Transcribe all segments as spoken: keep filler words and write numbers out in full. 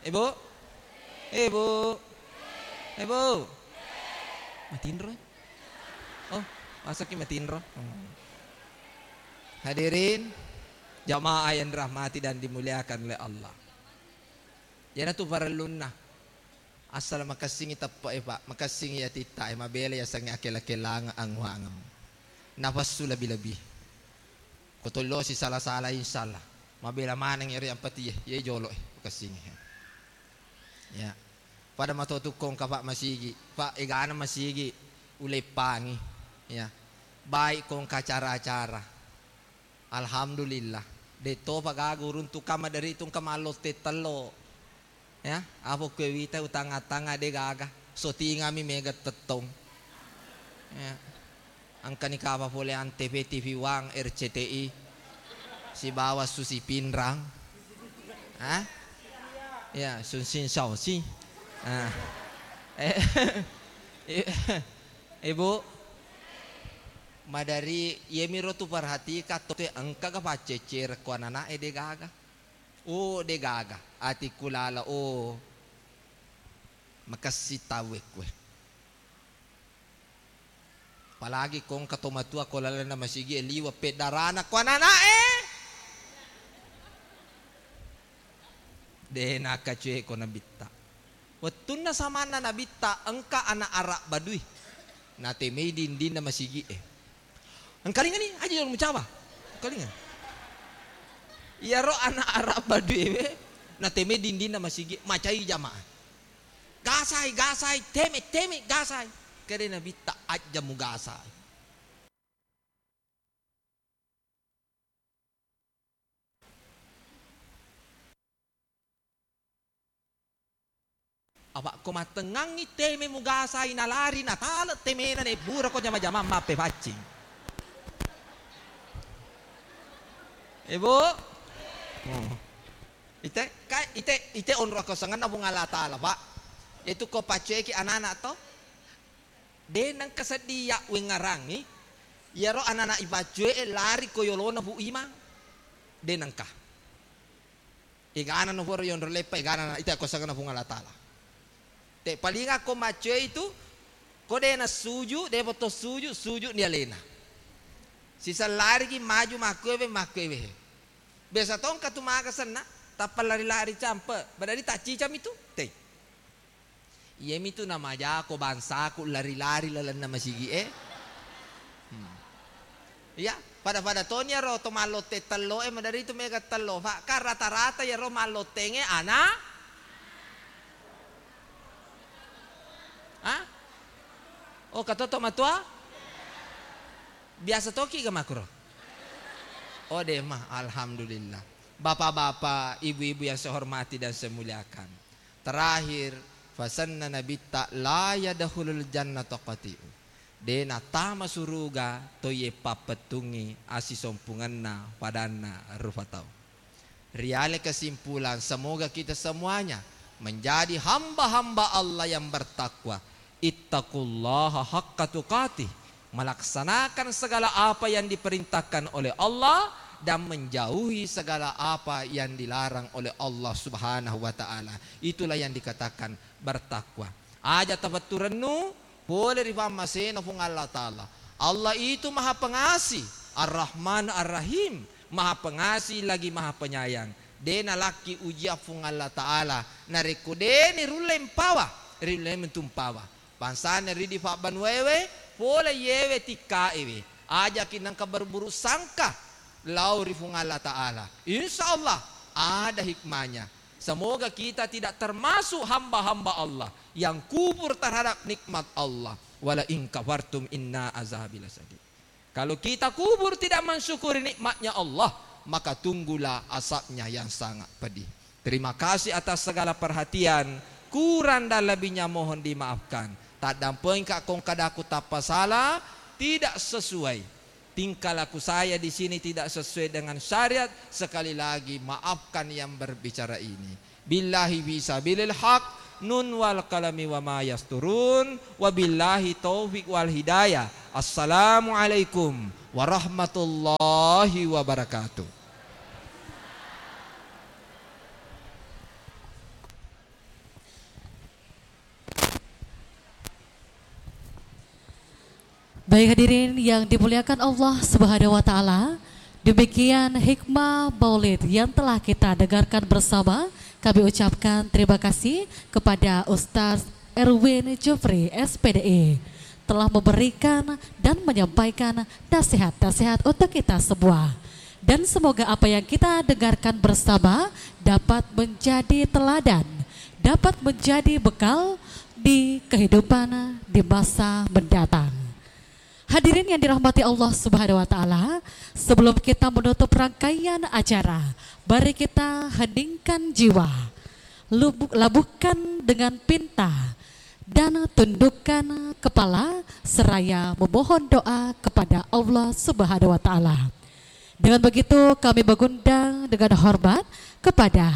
Ibu? Ibu? Ibu? Matinro? Oh, masaki matinro? Hmm. Hadirin, jamaah yang dirahmati dan dimuliakan oleh Allah. Iyanatu parellunna. Asal makessingi teppe'e, Pak. Makessingi atitta e, mabela yasengnge akela-kelangeng anguangeng. Nafassu lebih-lebih. Ko tollosi sala-sala, insyaallah. Mabela maneng ero yang peti e, ye jolo e, makessingi. Ya. Pada mato tukkong ka, Pak, masigi. Pak, egana masigi uleppangi. Ya. Baik kong ka acara-acara. Alhamdulillah. De topa gaga uruntu ka maderi tungka mallotte tello. Ya, apa kue wita utanga-tanga de gaga. Sotingami mega tettong. Ya. Engkani kapa pole Antv, T V One, R C T I. Sibawa Susi Pinrang. Hah? Ya, Sun Sin Shao Si. Ah. Eh, Ibu, madari iyemiro tu perhatika to te engka ga paccecere ko anana'e de gaga. Oh, de gaga. Atikku lala, oh. Makessi tauwe kue. Apalagi ko engka to matua ko lalenna masigi e liwa peddarana ko anana'e. De nakacue ko nabitta. Wettunna samanna nabitta engka ana' ara' badui. Natemei dindinna masigi e. Engkalingani, aja jolo mucawa. Engkalinga. Iyaro ana' ara' baduewe, natemei dindinna masigi, macai jamaah. Gasai, gasai, teme, teme, gasai. Kede nabitta, aja mugasai. Apa ko mattengngangngi teme mugasai nalari natale temena nebbura ko jama-jamang mappepaccing. Ibu? Hmm. Ite, ka, ite, ite onro kosanganna Puang Allah Taala, Pak. Itu ko paccueki anak-anak to? De nengka seddi ya wengarangi, iyaro anak-anak ipaccue lari ko yolona Bu Imang. De nengka. Egana no pura yonro leppa, egana na ita ko sagana Puang Allah Taala. Te palinga ko maccue itu, ko de na suju, de boto suju, suju ni alena. Sisa larigi maju makkuewe, makkuewe. Biasa tongka tu maga senna, tappa lari-lari campe, badari taccicami tu, te. Iyamitu namajako bangsaku lari-lari lalenna masigi e. Hmm. Iya, pada-pada toni iyaro to mallotte tello e, madari tu mega tello, Pak. Kan rata-rata iyaro mallottenge ana. Hah? Oh, katoto matua? Biasa toki ga makuro? Oh, de mah, alhamdulillah. Bapak-bapak, ibu-ibu yang saya hormati dan saya muliakan. Terakhir, fasanna nabitta la yadkhulul jannata qati'u. De natama suruga toiye pappettungngi asisompungenna padanna rupa tau. Riale kesimpulan, semoga kita semuanya menjadi hamba-hamba Allah yang bertakwa. Ittaqullaha haqqa tuqatih, melaksanakan segala apa yang diperintahkan oleh Allah dan menjauhi segala apa yang dilarang oleh Allah Subhanahu wa Ta'ala. Itulah yang dikatakan bertakwa. Aja tapettu rennu, pole ri pammasena Puang Allah Ta'ala. Allah itu Maha Pengasih, Ar-Rahman Ar-Rahim, Maha Pengasih lagi Maha Penyayang. De nalakki ujian Puang Allah Ta'ala, narekko de ni rulle mpawa, riulle mentu mpawa. Bangsana ridi fabbanuewe, pole yewe tikkaewe. Ajaki nengka berburuk sangka lao ri Puang Allah Ta'ala. Insya Allah ada hikmahnya. Semoga kita tidak termasuk hamba-hamba Allah yang kufur terhadap nikmat Allah. Wala in kafartum inna azabi lasyadid. Kalau kita kufur tidak mensyukuri nikmatnya Allah, maka tunggulah azabnya yang sangat pedih. Terima kasih atas segala perhatian, kurang dan lebihnya mohon dimaafkan. Taddampengka kong kadaku tappa salah, tidak sesuai. Tingkah laku saya di sini tidak sesuai dengan syariat, sekali lagi maafkan yang berbicara ini. Billahi fi sabilil haq, nun wal qalami wa ma yasturun, wabillahi taufiq wal hidayah. Assalamualaikum warahmatullahi wabarakatuh. Baik, hadirin yang dimuliakan Allah Subhanahu wa Ta'ala, demikian hikmah maulid yang telah kita dengarkan bersama. Kami ucapkan terima kasih kepada Ustaz Erwin Jufri, S P D I, telah memberikan dan menyampaikan nasihat-nasihat untuk kita semua. Dan semoga apa yang kita dengarkan bersama dapat menjadi teladan, dapat menjadi bekal di kehidupan di masa mendatang. Hadirin yang dirahmati Allah Subhanahu wa Ta'ala, sebelum kita menutup rangkaian acara, mari kita heningkan jiwa, lubu-, labuhkan dengan pinta, dan tundukkan kepala seraya memohon doa kepada Allah Subhanahu wa Ta'ala. Dengan begitu, kami mengundang dengan hormat kepada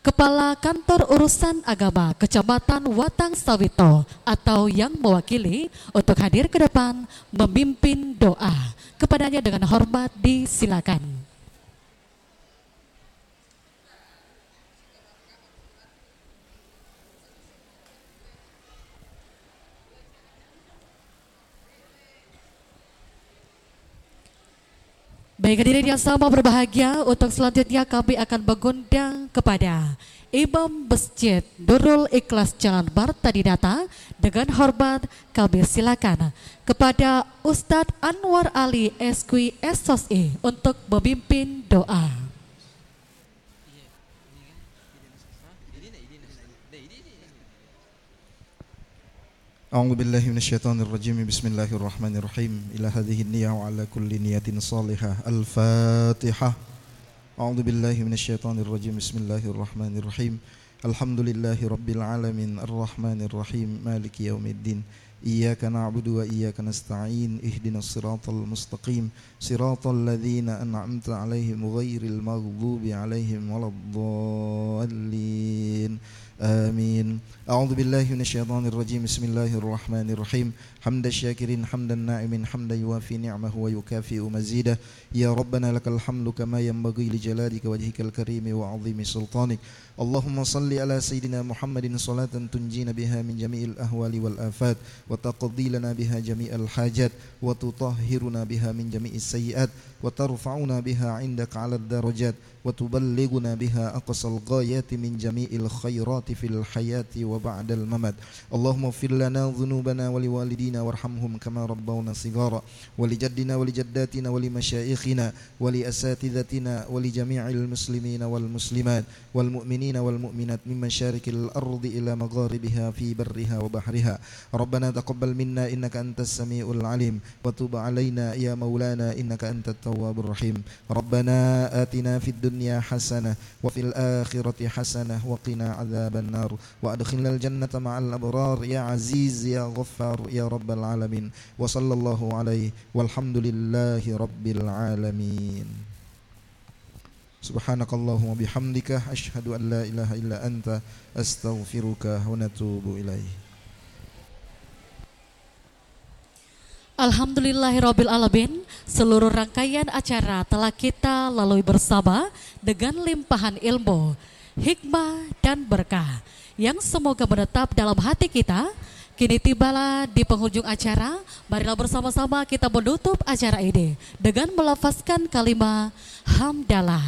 Kepala Kantor Urusan Agama Kecamatan Watang Sawito atau yang mewakili untuk hadir ke depan memimpin doa. Kepadanya dengan hormat disilakan. Baik, hadirin yang sama berbahagia, untuk selanjutnya kami akan mengundang kepada Imam Masjid Nurul Ikhlas Jalan Marta Dinata. Dengan hormat kami silakan kepada Ustadz Anwar Ali, S Q, S Sos I, untuk memimpin doa. أعوذ بالله من الشيطان الرجيم. بسم الله الرحمن الرحيم. إلى هذه النية وعلى كل نية صالحة. الفاتحة. أعوذ بالله من الشيطان الرجيم. بسم الله الرحمن الرحيم. الحمد لله رب العالمين. الرحمن الرحيم. مالك يوم الدين. إياك نعبد وإياك نستعين. اهدنا الصراط المستقيم. صراط الذين أنعمت عليهم غير المغضوب عليهم ولا الضالين. آمين. أعوذ بالله من الشيطان الرجيم. بسم الله الرحمن الرحيم. حمد الشاكرين، حمد الناعمين، حمدا يوافي نعمه ويكافئ مزيده. يا ربنا لك الحمد كما ينبغي لجلالك وجهك الكريم وعظيم سلطانك. اللهم صل على سيدنا محمد صلاة تنجينا بها من جميع الأهوال والآفات، وتقضي لنا بها جميع الحاجات، وتطهرنا بها من جميع السيئات، وترفعنا بها عندك على الدرجات، وتبلغنا بها أقصى الغايات من جميع الخيرات في الحياة وبعد الممات. اللهم اغفر لنا ذنوبنا ولوالدينا وارحمهم كما ربونا صغارا، ولجدنا ولجداتنا ولمشايخنا ولأساتذتنا ولجميع المسلمين والمسلمات والمؤمنين والمؤمنات من مشارق الأرض إلى مغاربها في برها وبحرها. ربنا تقبل منا إنك أنت السميع العليم، وتب علينا يا مولانا إنك أنت التواب الرحيم. ربنا آتنا في الدنيا حسنة وفي الآخرة حسنة وقنا عذاب النار، وأدخلنا الجنة مع الأبرار يا عزيز يا غفار يا رب العالمين. وصلى الله عليه والحمد لله رب العالمين. سبحانك اللهم وبحمدك، أشهد أن لا إله إلا أنت، أستغفرك ونتوب إليه. Alhamdulillahirabbil alamin, seluruh rangkaian acara telah kita lalui bersama dengan limpahan ilmu, hikmah, dan berkah yang semoga menetap dalam hati kita. Kini tibalah di penghujung acara, marilah bersama-sama kita menutup acara ini dengan melafazkan kalimat hamdalah.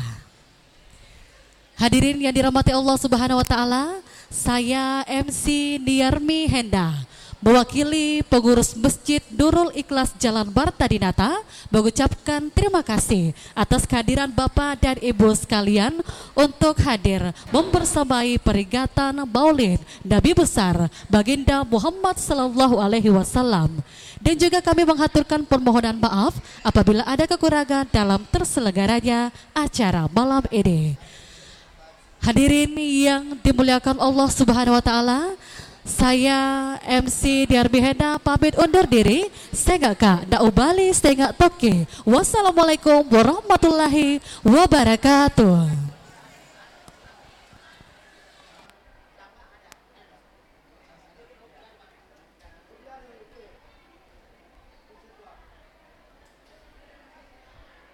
Hadirin yang dirahmati Allah Subhanahu wa Ta'ala, saya M C Niarmi Henda, mewakili pengurus Masjid Nurul Ikhlas Jalan Marta Dinata, mengucapkan terima kasih atas kehadiran Bapak dan Ibu sekalian untuk hadir membersamai peringatan Maulid Nabi Besar Baginda Muhammad sallallahu alaihi wasallam. Dan juga kami menghaturkan permohonan maaf apabila ada kekurangan dalam terselenggaranya acara malam ini. Hadirin yang dimuliakan Allah Subhanahu wa Ta'ala, saya M C Diarmi Henda pamit undur diri. Sengaka na ubali, sengak tokki. Wassalamualaikum warahmatullahi wabarakatuh.